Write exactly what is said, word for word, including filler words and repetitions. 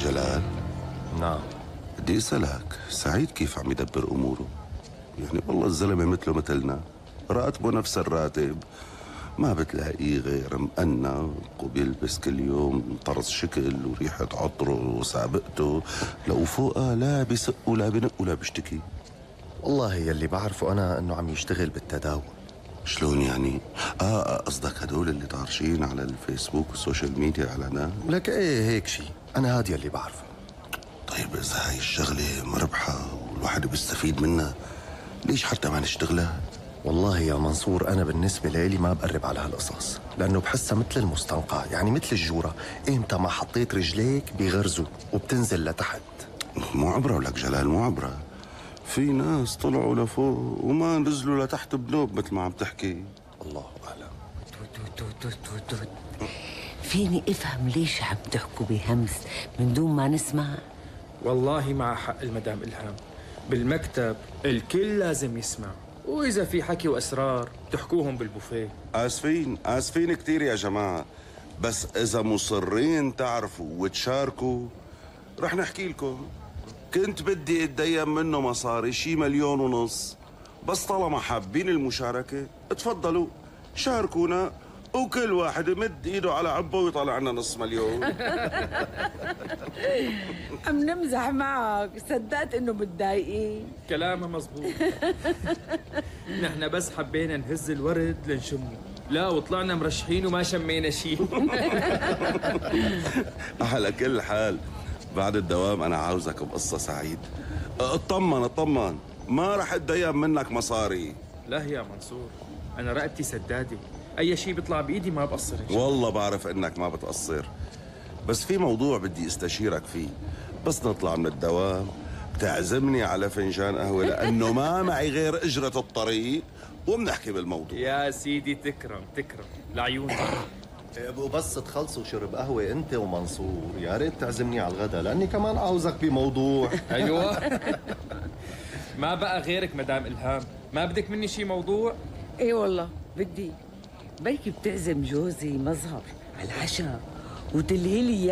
جلال. نعم. بدي اسألك، سعيد كيف عم يدبر اموره؟ يعني والله الزلمة مثله مثلنا، راتبه نفس الراتب، ما بتلاقيه غير مقنع وبيلبس كل يوم طرز شكل وريحة عطره وسابقته، لو فوقها لا بيسق ولا بنق ولا بيشتكي. والله يلي بعرفه أنا إنه عم يشتغل بالتداول. شلون يعني؟ اه قصدك هدول اللي طارشين على الفيسبوك والسوشيال ميديا اعلانات؟ لك ايه هيك شي، أنا هاد يلي بعرفه. طيب إذا هاي الشغلة مربحة والواحد بيستفيد منها، ليش حتى ما نشتغلها؟ والله يا منصور أنا بالنسبة لي ما بقرب على هالقصص، لأنه بحسها مثل المستنقع، يعني مثل الجورة، إمتى ما حطيت رجليك بيغرزوا وبتنزل لتحت. مو عبرة ولك جلال، مو عبرة. في ناس طلعوا لفوق وما نزلوا لتحت بنوب مثل ما عم تحكي. الله أعلم. توت توت توت توت توت. فيني افهم ليش عم تحكوا بهمس من دون ما نسمع؟ والله مع حق المدام إلهام، بالمكتب الكل لازم يسمع، وإذا في حكي وأسرار تحكوهم بالبوفيه. آسفين آسفين كتير يا جماعة، بس إذا مصرين تعرفوا وتشاركوا رح نحكي لكم. كنت بدي اتدين منه مصاري شي مليون ونص، بس طالما حابين المشاركة اتفضلوا شاركونا، وكل واحد يمد ايده على عبه ويطلع لنا نص مليون. عم نمزح معك، صدقت انه بتضايقين. كلامها مزبوط. نحن بس حبينا نهز الورد لنشمه، لا وطلعنا مرشحين وما شمينا شيء. على كل حال بعد الدوام انا عاوزك بقصة سعيد. اطمن اطمن، ما رح اتدين منك مصاري. لا يا منصور، أنا رقبتي سدادة، أي شيء بيطلع بإيدي ما بقصر. والله بعرف انك ما بتقصر، بس في موضوع بدي استشيرك فيه. بس نطلع من الدوام بتعزمني على فنجان قهوة، لأنه ما معي غير أجرة الطريق، وبنحكي بالموضوع. يا سيدي تكرم تكرم لعيونك. وبس تخلصوا شرب قهوة أنت ومنصور يا ريت تعزمني على الغداء، لأني كمان عاوزك بموضوع. أيوة. ما بقى غيرك مدام إلهام، ما بدك مني شي موضوع؟ ايه والله بدي. بركي بتعزم جوزي مظهر على العشاء وتلهي لي